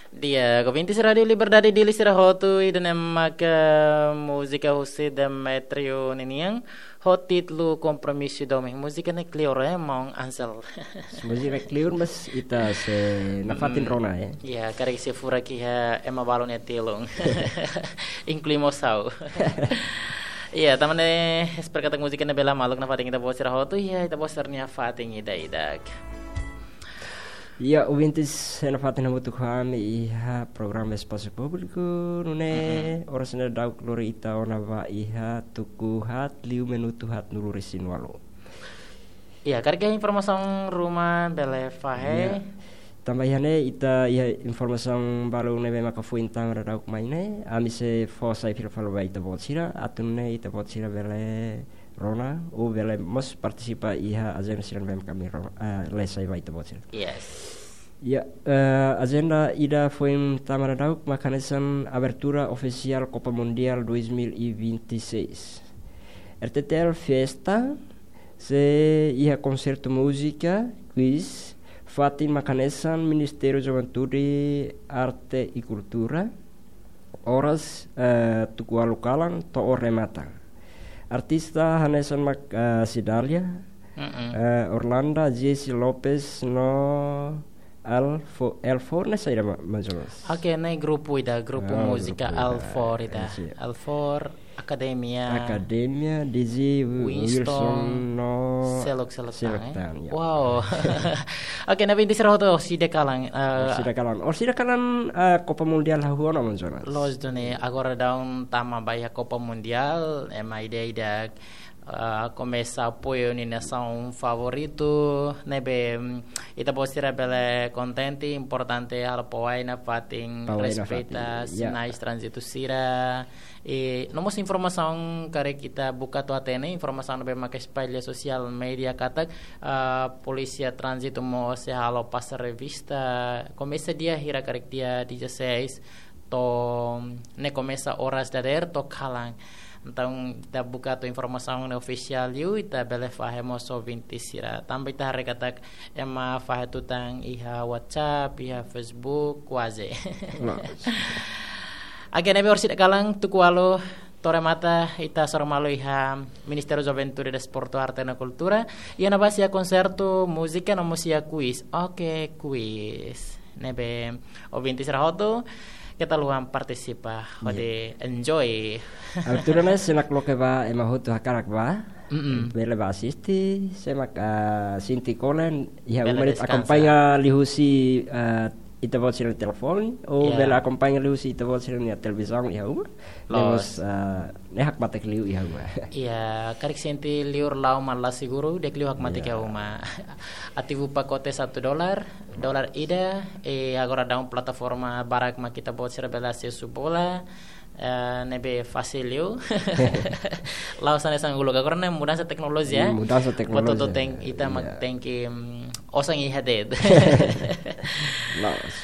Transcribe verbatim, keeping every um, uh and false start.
Di'ak, ouvintes Rádiu Liberdade Dili sira hotu, ida-ne'e maka múzika husi Demetrio ninian, ho títulu Kompromisu Domin. Múzika ne'e kleur, eh, maun Ansel? Múzika ne'e kleur, mas ita sei nafatin rona, eh. Ya, karik sei furak iha ema balu nia tilun. Inklui mós ha'u. Ya, tanba ne'e, espera katak múzika ne'e bele maluk nafatin ita-boot sira hotu, ya, ita-boot sira-nia fatin ida-idak. Ya, ouvintes, nafatin hamutuk ho ami iha programa Espasu Públiku, nune'e, oras ne'e daudauk lori ita ona ba iha tuku haat liu minutu haatnulu-resin-ualu. Ya, karik iha informasaun ruma bele fahe? Ya. Tanba iha ne'e ita iha informasaun balu ne'ebé maka foin tama daudauk mai ne'e, ami sei fó sai fila fali ba ita-boot sira, atu nune'e ita-boot sira bele rona, ou bele mós partisipa iha ajenda sira ne'ebé maka ami rona, eh, lee sai ba ita-boot sira. Yes. Ya, eh, ajenda ida foin tama daudauk maka hanesan abertura ofisiál Copa Mundial dois mil e vinte e seis. R T T L Fiesta, sei iha konsertu múzika, quiz, fatin maka hanesan Ministériu Juventude, Arte e Kultura, oras, eh, tuku ualu kalan to'o remata. Artista hanesan mak, eh, Cidália, Mm-mm. eh, Orlanda, Jesse Lopez no Alfo-, Alfor ne'e saida, ma-, mais ou menos? Oke, ne'e grupu ida, grupu Ah, múzika grupu ida. Alfor ida. Eh, si. Alfor, Akademia. Akademia, Dizzy, Wi-, Winston, Wilson no seluk-seluk tan, eh? Seluk tan, ya. Wow. Oke, ne'ebé oinsá hotu, orsida kalan, eh, Orsida kalan. Orsida kalan, eh, Copa Mundial hahú ona, mais ou menos? Loos duni, agora daudaun tama ba iha Copa Mundial, ema ida-idak, eh, komesa apoiu nia nasaun favoritu, ne'ebé, mm, ita-boot sira bele kontente, importante halo pawai nafatin, Pawai nafatin, respeita ya. Sinais tránzitu sira. I no mós informasaun karik ita buka atu hatene, informasaun ne'ebé maka espalla iha sosiál média katak, ah, polísia tránzitu mós sei halo pasa revista, komesa dia hira karik dia dezasseis, to'o ne'e komesa oras dadeer to'o kalan. Entaun, ita buka atu informasaun ne'e ofisiál liu, ita bele fahe mós ouvinte sira. Tanba ita haree katak ema fahe tutan iha WhatsApp, iha Facebook, kuaze. Loos. Oke, ne'ebé orsida kalan tuku ualu to'o remata ita hasoru malu iha Ministériu Juventude, Desportu, Arte no Kultura. Iha ne'ebá sei iha konsertu múzika no mós sei iha quiz. Oke, quiz. Ne'ebé ouvinte sira hotu, keta haluha partisipa, Iya. hodi enjoy. Abertura ne'e sei nakloke ba ema hotu hakarak ba. Mm-mm. Bele ba asiste, se mak, ah, sente kole, iha Bele uma de'it deskansa. Akompaña liuhusi, ah, ita-boot sira-nia telefone, ou Iya. bele akompaña liuhusi ita-boot sira-nia televizaun iha uma. Loos. Ne'e mós, ah, ne'e hakmatek liu iha uma. Iya, karik sente liur la'o mak la seguru, di'ak liu hakmatek Iya. iha uma. Ativu pakote satu dolar, dolar ida, i agora daudaun plataforma barak mak ita-boot sira bele asesu bola, eh, ne'ebé fasil liu. La'ós hanesan uluk, agora ne'e mudansa teknolojia, Hmm, eh? mudansa Buat teknolojia. hotu tenke, ita mak Iya. tenke, mm, osan iha de'it. Loos.